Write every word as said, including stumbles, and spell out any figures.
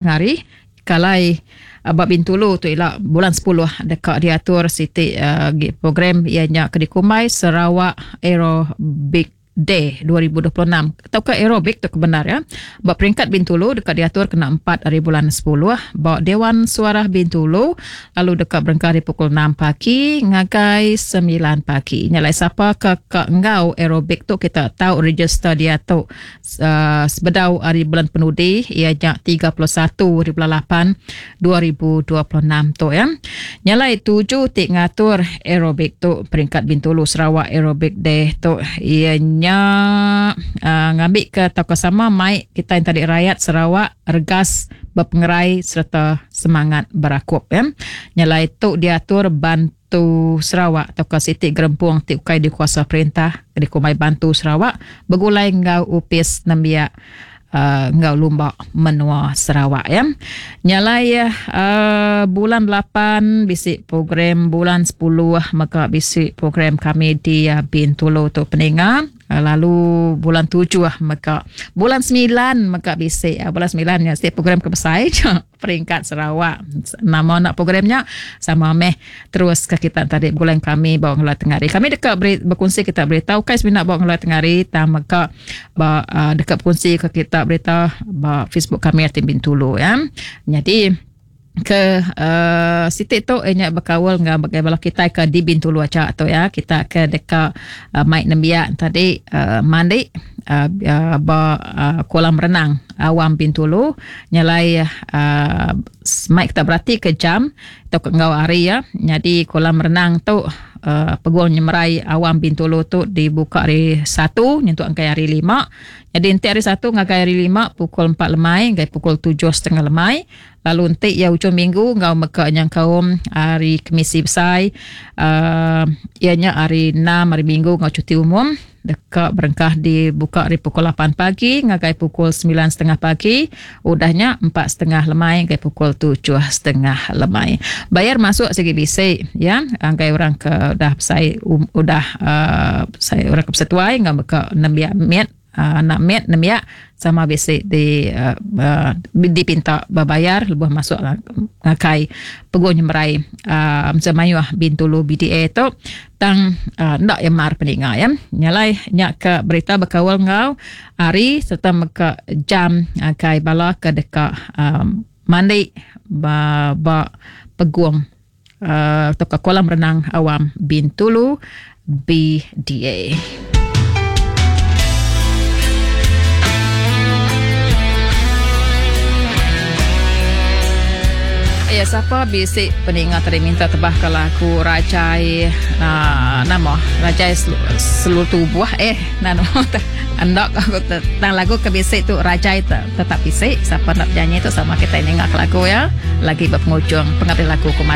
Hari kalai uh, ba Bintulu tu ila bulan sepuluh dekat diatur siti uh, program ianya ke dikumbai Sarawak Aerobic Day dua ribu dua puluh enam atau ke aerobik tu kebenar ya. Ba peringkat Bintulu dekat diatur kena empat hari bulan sepuluh ba Dewan Suara Bintulu lalu dekat berengkah di pukul enam pagi ngagai sembilan pagi. Nyalai siapa ke ke enggau aerobik tu kita tahu register dia tu uh, sebedau hari bulan penudi ianya tiga puluh satu hari bulan lapan dua ribu dua puluh enam tu ya. Nyalai tuju ti ngatur aerobik tu peringkat Bintulu Sarawak Aerobic Day tu ianya uh, ngambil ke tau sama mai kita yang tadi rakyat Sarawak regas berpengerai serta semangat berakup ya. Nyalai tu diatur bantu Sarawak atau ke siti gerempung ti ukai dikuasa perintah di kumai bantu Sarawak begulai ngau upis nembiak Uh, ngau lumba menua Sarawak ya. Nyalai uh, bulan lapan bisi program, bulan sepuluh maka bisi program kami di uh, Bintulu tu peninga. Uh, lalu bulan tujuh maka bulan sembilan maka bisi uh, bulan sembilan ya setiap program kebesai peringkat Sarawak. Nama nak programnya sama meh terus ke kita tadi bulan kami bawa ngeluar tengah hari. Kami dekat beri, berkongsi kita beritahu kai sebenarnya bawa ngeluar tengah hari tam maka ba, uh, dekat berkongsi ke kita berita ba Facebook kami Tim Bintulu ya. Jadi ke uh, sitik tu ianya berkawal dengan bagaimana kita ke di Bintulu aja tu ya. Kita ke dekat uh, mic nembiak tadi uh, mandi uh, uh, ba uh, kolam renang awam Bintulu nyalai uh, mic kita berarti ke jam atau ke ngau hari ya. Jadi kolam renang tu uh, peguam nyemerai awam Bintulu tu dibuka hari satu nyentuk angkai hari lima. Jadi nanti hari satu ngagai hari lima pukul empat lemai ngagai pukul tujuh setengah lemai. Lalu nanti ya hujung minggu ngau meka yang kaum hari Kemisi besar uh, ianya hari enam hari minggu ngau cuti umum dekat berengkah dibuka hari pukul lapan pagi ngagai pukul sembilan setengah pagi, udahnya empat setengah lemai ngagai pukul tujuh setengah lemai. Bayar masuk segi bisik ya, anggai orang ke udah saya um, udah uh, saya orang ke persetuai ngau meka nembiak miat uh, anak miat nembiak sama bisik di uh, uh, dipinta berbayar lebuh masuk ngakai peguh nyemerai uh, macam mayuh Bintulu B D A tu tang uh, ndak yang mar peninga ya. Nyalai nyak ke berita berkawal ngau hari serta meka jam kai bala ke dekat um, mandi ba, ba peguang uh, atau ke kolam renang awam Bintulu B D A. Ya, siapa bisik peningat tadi minta tebah kalau aku rajai uh, nama rajai selu, seluruh tubuh eh nano andak aku tentang lagu ke bisik tu rajai te, tetap bisik. Siapa nak nyanyi tu sama kita ini ngak lagu ya lagi berpenghujung pengabdi lagu kumat.